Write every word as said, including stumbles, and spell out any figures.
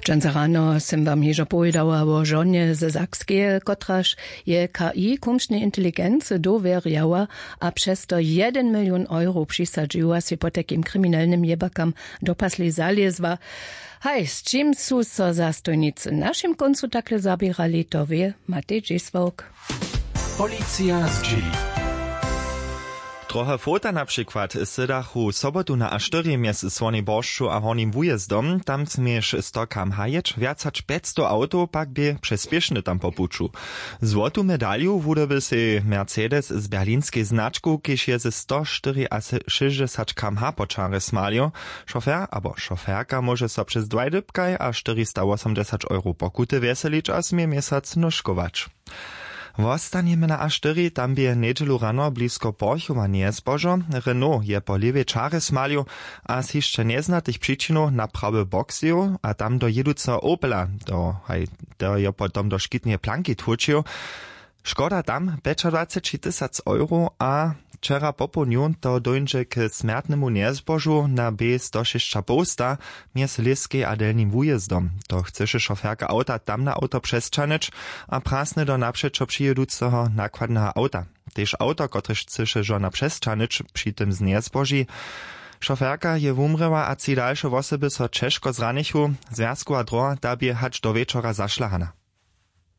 Dźensa rano sym wam hižo powědała wo žonje ze Sakskeje, kotraž je K I kumšnej inteligency dowěrjała a přez to jedyn milion euro přisadźiła, sej potajkim kriminelnym jěbakam do pasli zalězła. Haj, z čim su so zastojnicy w našim kóncu takle zaběrali, to wě Matej Dźěsławk. Policija zdźěli. Trochę fota na přikład sydachu sobotu na a štyri mjez słonej boršću a hornim wujězdom. Tam směješ sto kam hajeć, wjac hač pjećstow awtow pak bě přespěšny tam po puću. Złotu medalju wudoby sej Mercedes z berlinskej značku, kiž je ze sto štyriašěsćdźesat kam ha po čarje smalił. Šofer abo šoferka móže so přez dwaj dypkaj a štyristawosomdźesać euro pokuty wjeselić a smě měsac nóžkować. Wostanjemy na a štyri. Tam bě njedźelu rano blisko porchowa njezbožo. Renault je po lěwej čarje smalił a z hišće njeznatych přičinow na prawy bok zjěł a tam do jěduceho Opela do haj to jo potom do škitneje planki tłučił. Škoda tam pjećadwaceći tysac euro a wčera popołdnju to dóńdźe k smjertnemu njezbožu na b sto šěsćapołsta mjez lěskej a delnim wujězdom. To chcyše šoferka awta tam na awto přesćahnyć a prasny do napřećo přijěduceho nakładneho awta. Tež awto kotrež chcyše žona přesćahnyć při tym z njezboži. Šoferka je wumrěła a tři dalše wosoby so ćežko zranichu. Zwjazkowa droha ta bě hač do wječora zašlahana.